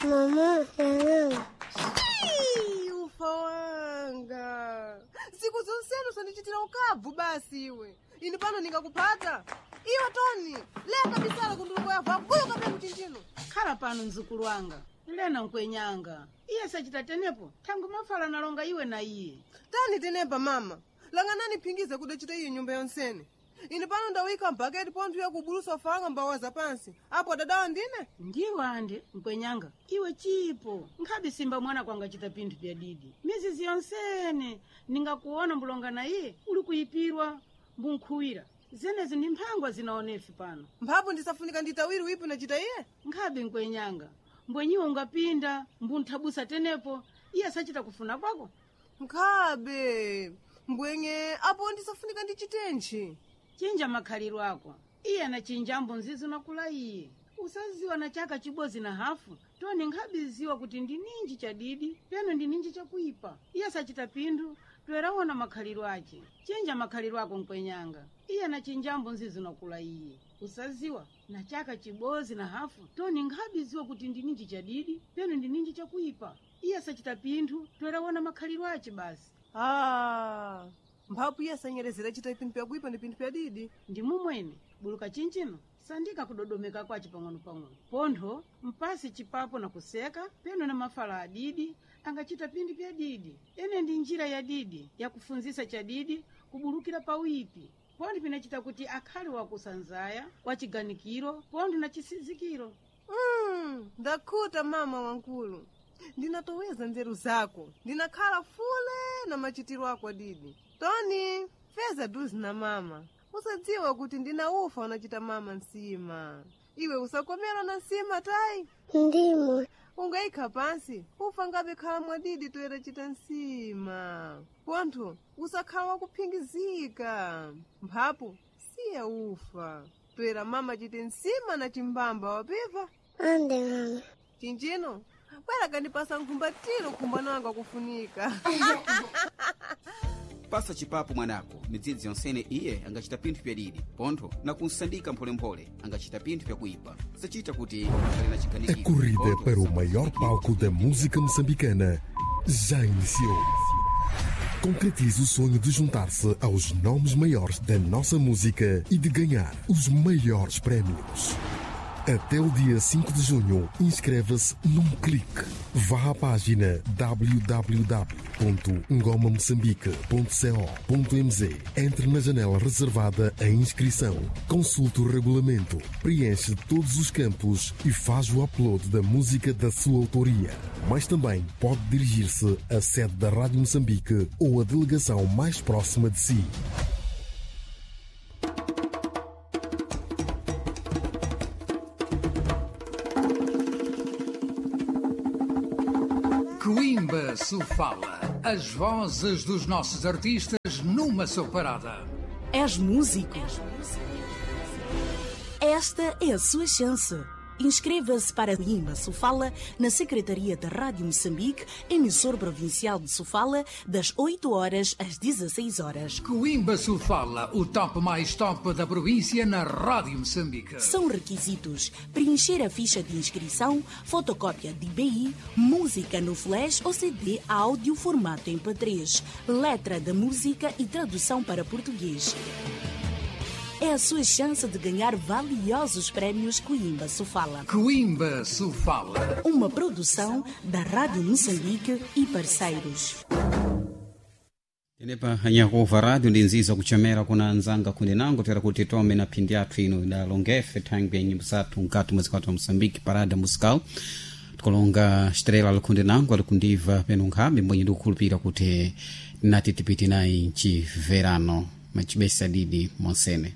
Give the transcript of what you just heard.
Mama, yananga. Ufa wanga, siku zonsenu sandichitira ukabvu basi iwe. Ine pano ningakupata iwe Toni, leka bisala kunduluko yavo abuyo kapya mchinjino. Khala pano mzukulu wanga, lena nkwenyanga. Iye sachita tenepo thangu mafala nalonga iwe na iye. Tani tenepa mama, langanani phingize kudachita iyi nyumba yonsene. Ine pano ndawika mbaketi pontho yakubulusa ufa wanga mbawaza pansi apo dadawa ndine. Ndiwo ande nkwenyanga, iwe chipo nkhabe simba mwana kwanga chita pinthu pya didi. Mizizi yonsene ningakuona mbulonga na iye uli kuyipirwa mbunkhuwira. Zenezi ndi mphangwa zinaonefi pano. Mphapo ndisafunika nditawiri wipi nachita iye. Nkhabe nkwenyanga, mbwenyiwo ungapinda mbunthabusa tenepo iye sachita kufuna kwako. Nkhabe mbwenye apo ndisafunika ndichitenji. Chinja makhaliro ako, iye anachinjambo nzizi nakula iye. Usaziwa na chaka chibodzi na hafu toni nkhabiziwa kuti ndi ninji chadidi peno ndi ninji chakuipa. Iye sachita pinthu toeraona makhaliro ache. Chinja makhaliro ako nkwenyanga, iye anachinjambo nzizi nakula iye. Usaziwa na chaka chibodzi na hafu toni nkhabiziwa kuti ndi ninji chadidi peno ndi ninji chakuipa. Iye sachita pinthu toeraona makhaliro ache basi. Ah, mphapo iye asanyerezera chita pinthu pyakuipa ndi pinthu pyadidi. Ndi mumwene buluka chinchino sandika kudodomeka kwace pang'ono-pang'ono. Pontho mpasi chipapo na kuseka peno na mafala adidi angachita pinthu pya didi. Ene ndi njira ya didi yakufunzisa chadidi kubulukira pawipi. Pontho pinachita kuti akhale wakusanzaya wachiganikiro pontho na chisizikiro. Ndakhuta mama wankulu, ndinatoweza nzeru zako, ndinakhala fule na machitiro ako adidi. Toni feza duzi na mama, usadziwa kuti ndinaufa unachita mama nsima. Iwe usakomera na nsima tayi. Ndimo. Ungayikha pansi ufa ngabe khala mwadidi toera chita nsima. Pontho usakhala wakuphingizika. Mphapo siya ufa toera mama chite nsima na chimbamba wapiva. Ande mama. Chinjino bwera kandipasa nkhumbatiro khumbano wanga kufunika. Pasa chipapo mwanako midzidzi yonsene iye angachita pinthu pyadidi pontho na kunsandika mpholemphole angachita pinthu pyakuipa sachita kuti akhale na A chiganikiro. corrida Pontho para o maior palco da música moçambicana já iniciou. Concretize o sonho de juntar-se aos nomes maiores da nossa música e de ganhar os maiores prémios. Até o dia 5 de junho, inscreva-se num clique. Vá à página www.ngomamoçambique.co.mz. Entre na janela reservada à inscrição. Consulte o regulamento, preenche todos os campos e faz o upload da música da sua autoria. Mas também pode dirigir-se à sede da Rádio Moçambique ou à delegação mais próxima de si. Coimbra Sofala. As vozes dos nossos artistas numa só parada. És músico? Esta é a sua chance. Inscreva-se para Imba Sofala na Secretaria da Rádio Moçambique, emissor provincial de Sofala, das 8 horas às 16 horas. Coimbra Sofala, o top mais top da província na Rádio Moçambique. São requisitos: preencher a ficha de inscrição, fotocópia de BI, música no flash ou CD áudio formato MP3, letra da música e tradução para português. É a sua chance de ganhar valiosos prêmios Coimbra Sofala. Coimbra Sofala. Uma produção da Rádio Moçambique e parceiros. Tenepa anyakuva rádio ndi nziza kuchomera kuna anzanga kundi nango tera kuti tome na phindi athu ino idalongefe thangwi ya nyimbo zathu mkati mwezi kwathu wa Moçambique parada musical. Tikulonga estrela alikhunde nango alikundiva peno nkhabe mbwenye ndikukhulupira kuti tinati tipiti nayi mchiverano machibesa didi monsene.